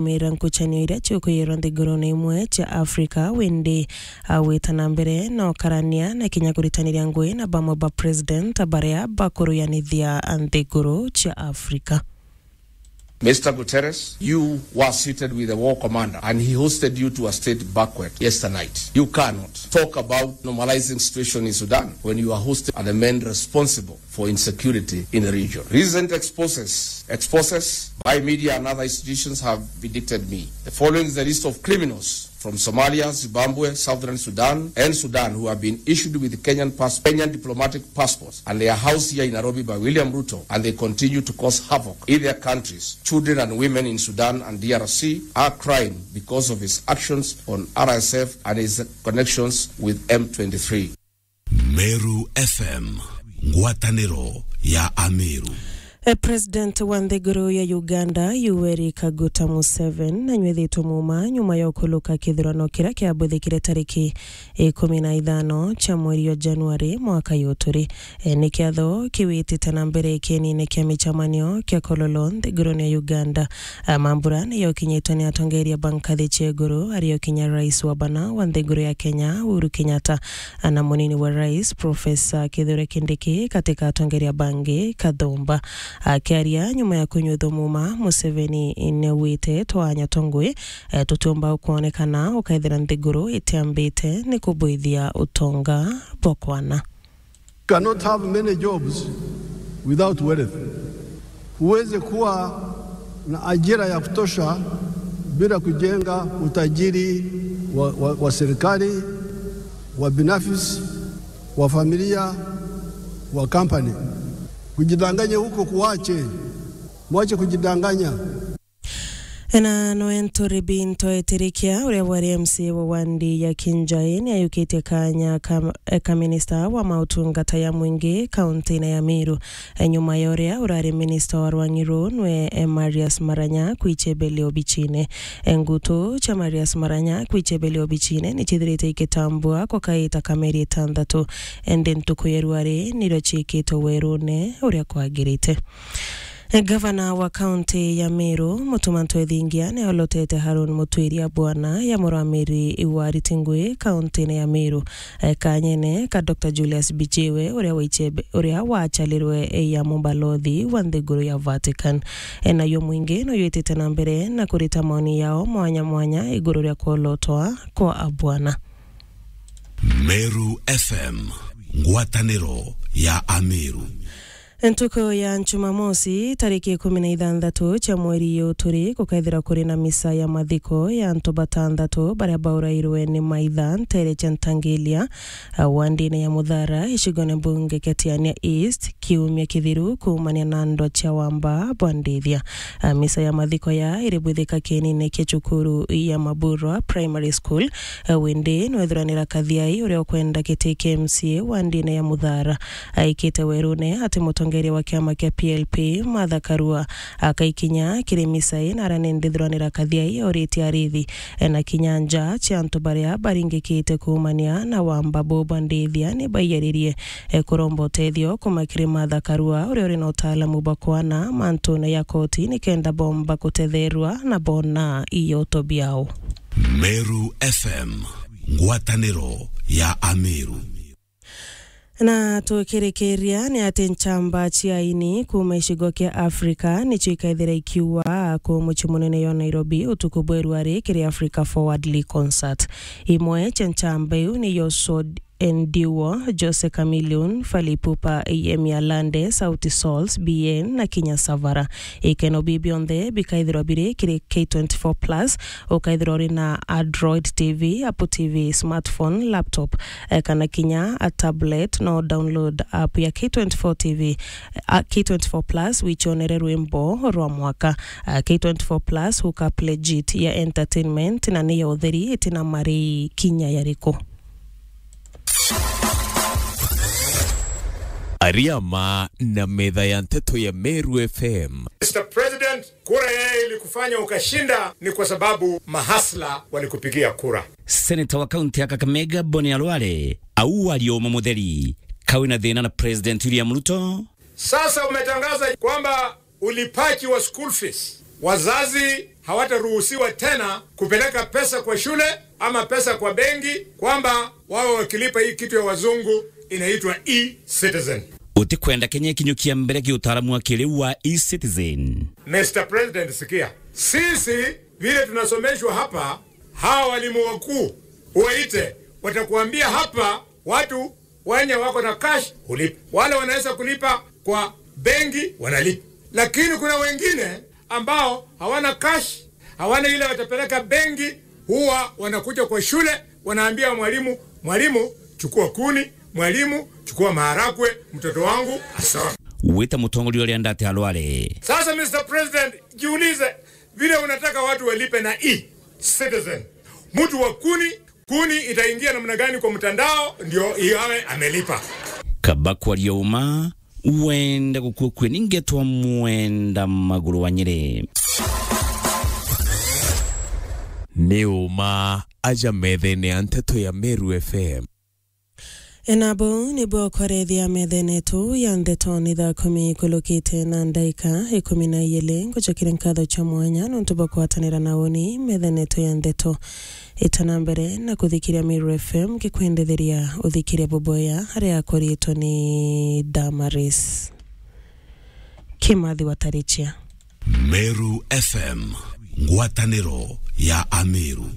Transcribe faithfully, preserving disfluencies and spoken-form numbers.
Mira nkucanio iria ciukwiyirwa nthigurune imwe cia Africa, windi agwita na mbere na ukarania na kinya kuritaniria ngui na bamwe ba president baria bakuruyanithia nthiguru cia Africa. Mister Guterres, you were seated with the war commander and he hosted you to a state banquet yesternight. You cannot talk about normalizing situation in Sudan when you are hosted at the men responsible for insecurity in the region. Recent exposes, exposes by media and other institutions have vindicated me. The following is the list of criminals from Somalia, Zimbabwe, Southern Sudan, and Sudan who have been issued with Kenyan pass-, Kenyan diplomatic passports, and they are housed here in Nairobi by William Ruto, and they continue to cause havoc in their countries. Children and women in Sudan and D R C are crying because of his actions on R S F and his connections with M twenty-three. Meru F M, ngwataniro ya Ameru. E, President wa nthiguru ya Uganda, Yoweri Kaguta Museveni, nanyuithitwe muuma nyuma ya ukuluka kithurano kiria kiabwithikire tariki ikumi na ithano cia mweri wa Januari mwaka uyu turi. E, ni kiatho kiwitite na mbere kienine kia micemanio kia Kololo nthigurune ya Uganda. A, mambura ni yokinyitwe ni atongeria ba nkathi cia iguru, ario kinya rais wa bana wa nthiguru ya Kenya, Uhuru Kenyatta, na munini wa rais, Professor Kithure Kindiki, katika atongeria bangi kathumba. Akiaria nyuma ya kunyuithwa muuma, Museveni niaugite, "Twanya twa ngui, eh, tutiumba kwonekana ukaithira nthiguru itiambite ni kubwithia utonga bwa kwana." Cannot have many jobs without wealth. Huwezi kuwa na ajira ya kutosha bila kujenga utajiri wa, wa, wa serikali, wa binafsi, wa familia, wa company. Kujidanganya huko kuache. Mwache kujidanganya. Na noe Nturi Binto Etirikia, uria wari M C A wa wandi ya Kinjai, ni ayukitie kanya ka, ka minista wa mautungata ya mwingi kaunti-ini ya Meru. E, nyuma ya uria urari minista wa rwangi ruu nwe, e, Marius Maranya kwichebelea obichine. E, ngutu cia Marius Maranya kwichebelea obichine ni cithirite ikitambua kukaita ka mieri itantatu. Indi ntuku ya ruari nirio ciikitwe werune uria kwagirite. Gavana wa kaunti ya Meru, Mutuma Ntwethingia, ni olotete Harun Mutwiria bwana ya murwamiri wa Ritingwi kaunti-ini ya Meru. E, kanyene ka Doctor Julius Bijiwe, uria waichebe-, uria wachalirwe, e, ya mubalothi wa nthiguru ya Vatican. E, nayo mwingi no yitite na mbere na kurita maoni yao mwanya mwanya iguru ria kuolotwa kwa abwana. Meru F M, ngwataniro ya Ameru. Ntuku ya Jumamosi, tariki ikumi na ithanthatu cia mweri uyu turi, gukaithira kuri na misa ya mathiko ya antu batanthatu baria baurairwe ni maitha ntere cia Ntangilia, a, wandine ya Muthara, icigone mbunge kia Tiania East, kiumia kithiru kuumania na ndwa cia wamba bwa Ndithia. A, misa ya mathiko ya iribwithika kienine kia cukuru ya Maburwa Primary School, e, windi nwethuranira Kathiai uria ukwenda giti kia M C A wandine ya Muthara aikite werune ati mutongeria wa kiama kia P L P, Martha Karua, akaikinya kiri misa ii na aria ni ndithuranira Kathiai oritie arithi, e, na kinya nja cia antu baria baringikite kuumania na wamba buu bwa Ndithia ni baiyaririe, e, kuromba utethio kuuma kiri Martha Karua uria uri na utaalamu bwa kwana mantune ya koti nikenda bomba kutetherwa na bona ioto biao. Meru F M, ngwataniro ya Ameru. Na tukirikiria ni ati nchamba cia aini kuuma icigo kia Afrika nicio ikaithira ikiua ku mucii munene yo Nairobi utuku bwa iruari kiri Africa Forwardly Concert. Imwe cia nchamba iu niyo Sod Endiwo, Jose Chameleone, Fally Ipupa, Yemi Alade, Sauti Sol, B N na kinya Savara. Ikeno bii bionthe bikaithirwa biri kiri K twenty-four plus, ukaithirwa uri na Android T V, Apple T V, smartphone, laptop, eh, kana kinya a tablet, no download app ya K twenty-four T V, a, K twenty-four plus, wichonere rwimbo rwa mwaka. A, K twenty-four plus hookup legit ya entertainment na ni ya utheri, itina mari kinya yariku. Ariama na metha ya nteto ya Meru F M. Mister President, kura yeye ilikufanya ukashinda ni kwa sababu mahasla walikupigia kura. Seneta wa kaunti ya Kakamega, Boni Alwale, au aria uma mutheri, kawi na thina na President William Ruto. Sasa umetangaza kwamba ulipaji wa school fees Wazazi hawataruhusiwa tena kupeleka pesa kwa shule ama pesa kwa benki, kwamba wawe wakilipa hii kitu ya wazungu inaitwa e-citizen. Utikwenda Kenya ikinyukia mbere ki utaalamu wa kiriu wa e-citizen? Mister President, sikia. Sisi vile tunasomeshwa hapa, hawa walimu wakuu waite, watakuambia hapa watu wenye wako na cash hulipa. Wale wanaweza kulipa kwa benki wanalipa. Lakini kuna wengine ambao hawana cash, hawana ile watapeleka benki, huwa wanakuja kwa shule, wanaambia mwalimu, "Mwalimu, chukua kuni, mwalimu, chukua maharagwe, mtoto wangu asome." Wita mutongoria uria ndate alware. Sasa, Mister President, jiulize vile unataka watu walipe na e-citizen. Mtu wa kuni, kuni itaingia namna gani kwa mtandao ndio yawe amelipa? Kaba kwaria uma, wenda gukua kue ni ngetwa Mwenda Maguru wa Nyeri. Ni uma aja methene ya nteto ya Meru F M. Ena bau nibwo kwarethia methene yetu ya ndeto ni thaa kumi ikulukite na ndaika ikumi na iili. Ngucokeria nkatho cia mwanya nontu bwa kugwatanira na uni methene yetu ya ndeto. Itana mbere na kuthikiria Meru F M, ngikwendetheria uthikiria buboya aria akoritwe ni Damaris Kimathi wa Tarichia. Meru F M, ngwataniro ya Ameru.